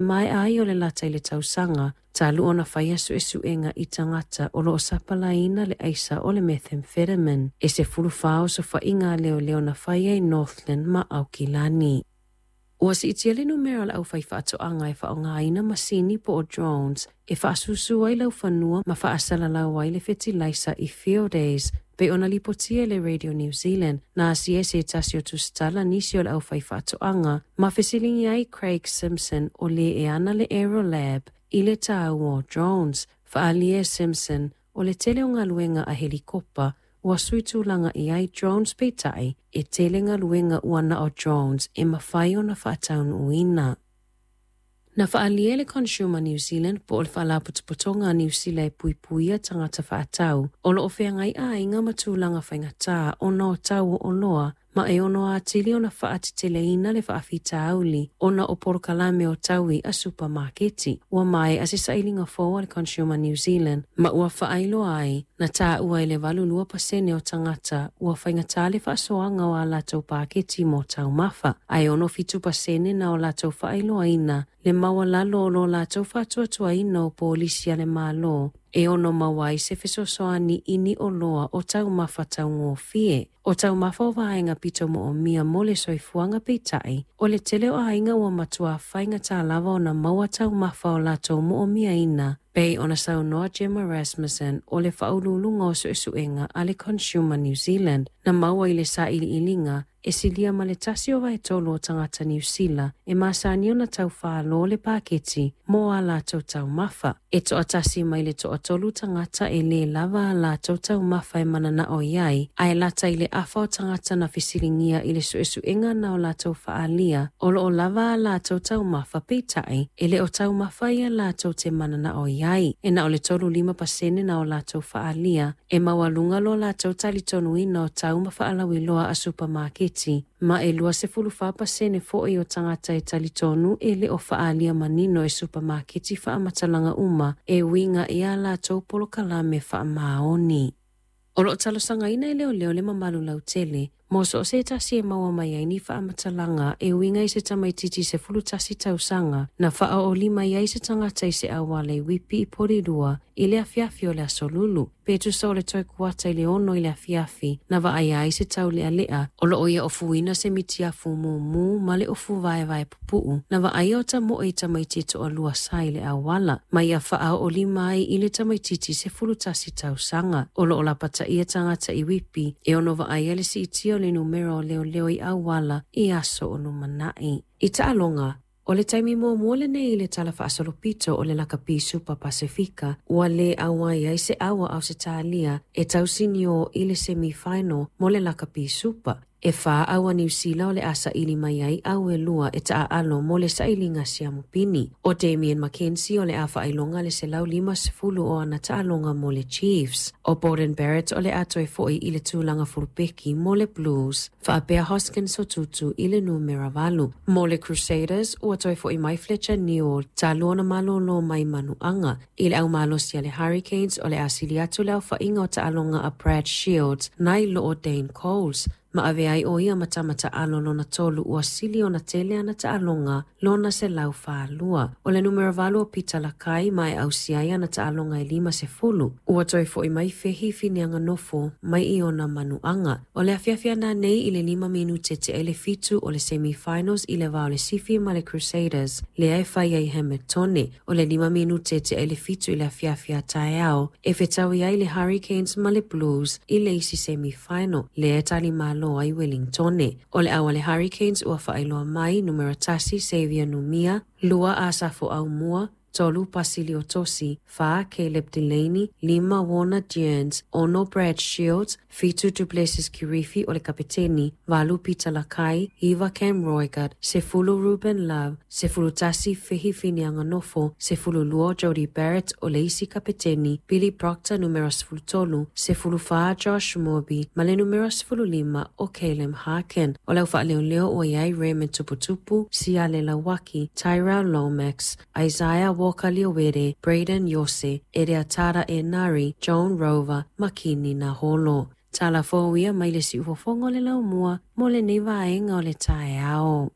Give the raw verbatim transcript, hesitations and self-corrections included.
Maea ai o le lata i le tausaga talu ona faia suesuega i tagata o lo o sapalāina le aisa o le methamphetamine e sefulufa osofaiga a leoleo na faia i Northland ma Aukilani. Ua siitia le numera o le aufaifaatoaga e faaaogaina masini po o drones e faasusu ai laufanua ma faasalalau ai le fetilaisa i Fieldays pei ona lipotia e le Radio New Zealand na asia e se tasi o tusitala nisi o le aufaifaatoaga ma fesiligia ai Craig Simpson o le e ana le Aerolab i le tāua o drones. Faaalia e Simpson o le tele o galuega a helikopa ua sui tulaga i ai drones peitai e tele galuega ua na o drones e mafai ona faataunuuina. Na faaalia e le Consumer New Zealand po o le Faalapotopotoga a Niu Sila e puipuia tagata faatau o lo o feagai aiga ma tulaga faigata ona o tau o oloa ma e ono atili ona faateteleina le faafitauli ona o polokalame o taui a supamaketi. Ua maea se sailiga fou a le Consumer New Zealand ma ua faailoa ai na taua i le valu lua pasene o tagata ua faigata le faasoaga o a latou paketi mo taumafa, ae ono fitu pasene na o latou faailoaina le maualalo o lo latou faatuatuaina o polisi a le Malo e ono maua ai se fesoasoani i ni oloa o taumafa taugofie. O taumafa o vaega pito moomia mo le soifuaga peitai, o le tele o aiga ua matua faigata lava ona maua taumafa o latou moomiaina, pei ona saunoa Gemma Rasmussen o le faauluuluga o suesuega a le Consumer New Zealand na maua i le sailiiliga e silia ma le tasi o vaetolu o tagata Niu Sila e masani ona taufālō le paketi mo a latou taumafa. E toatasi mai le toatolu tagata e lē lava a latou taumafa e mananao i ai, ae lata i le afa o tagata na fesiligia i le suesuega na o latou faaalia o lo o lava a latou taumafa peitai e le o taumafa ia latou te mananao i ai. E na o le tolu lima pasene na o latou faaalia e maualuga lo latou talitonuina o tau ma faalauiloa a supamaketi ma e lua sefulu fa pasene foi o tagata e talitonu e le o faaalia manino e supamaketi faamatalaga uma e uiga i a latou polokalame faamaoni. O lo o talosagaina e leoleo le mamalu lautele mo so o se tasi e maua mai ai ni faamatalaga e uiga i se tamaititi sefulu tasi tausaga na faaoolima mai ai se tagata i se auala i Whippy i Porirua i le afiafi o le aso Lulu. Pe tusa o le toe kuata i le ono i le afiafi na vaaia ai se taulealea o loo ia ofuina se mitiafu mumu ma le ofu vaevae pupuu na vaaia o tamoe i tamaiti e toalua sa i le auala ma ia faaoolima ai i le tamaititi sefulu tasi tausaga. O loo lapataia tagata i Whippy e ono vaaia le siitia o le numera o leoleo i auala i aso o lumanai. I taaloga, o le taimi muamua lenei i le tala faasolopito o le lakapi Super Pasifika, ua lē auai ai se aua Ausetalia e tausinio i le semifinal mo le lakapi Super. E whā aua Niu Sila o le asa ili mai ai au e lua e taaalo mo le sailiga siamupini. O Damien McKenzie o le a whailonga le selau lima sefulu o ana taaloga mo le Chiefs. O Beauden Barrett o le a toe foi i le tulaga fulupeki mo le Blues. Faapea Hoskins Sotutu i le numera valu. Mo le Crusaders, ua toe foi mai Fletcher Newell talu ona malōlō mai manuaga. I le aumalosi a le Hurricanes o le asili atu le aofa'iga o taaloga a Brad Shields nai lo o Dane Coles. Ma ave ai o ia matamata alo lona tolu ua sili ona tele ana taaloga lona selau faalua. O le numera valu o Peter Lakai ma e ausia ai ana taaloga e lima sefulu. Ua toe foi mai Fehi Fineanganofo mai i ona manuaga. O le afiafi ananei i le lima minute tea i le fitu o le semi-finals i le va o le Sifi ma le Crusaders. Lea e fai ai Hamiltone. O le lima minute tea i le fitu i le afiafi a taeao e fetaui ai le Hurricanes ma le Blues i le isi semi-final. Lea e talimalo ai Wellingtone. O le au a le Hurricanes ua faailoa mai numera tasi Xavier Numia, lua Asafo Aumua, tolu Pasilio Tosi, fa Caleb Delaney, lima Warner Dearns, ono Brad Shields, fitu Duplessis Kirifi o le kapiteni, valu Peter Lakai, iva Cam Roigard, sefulu Ruben Love, sefulu tasi Fehi Fineanganofo, sefulu lua Jody Barrett o le isi kapiteni, Billy Proctor numera sefulu tolu, sefulu fa Josh Moorby, ma le numera sefulu lima o Caleb Harkin. O le au faaleoleo ua iai Raymond Tuputupu, Siale Lawaki, Tyrell Lomax, Isaiah Walker Leawere, Braden Yose, Ereatara Enari, Joan Rover, Makini Naholo. Tala fou ia mai le siufofoga o le laumua mo lenei vaega o le taeao.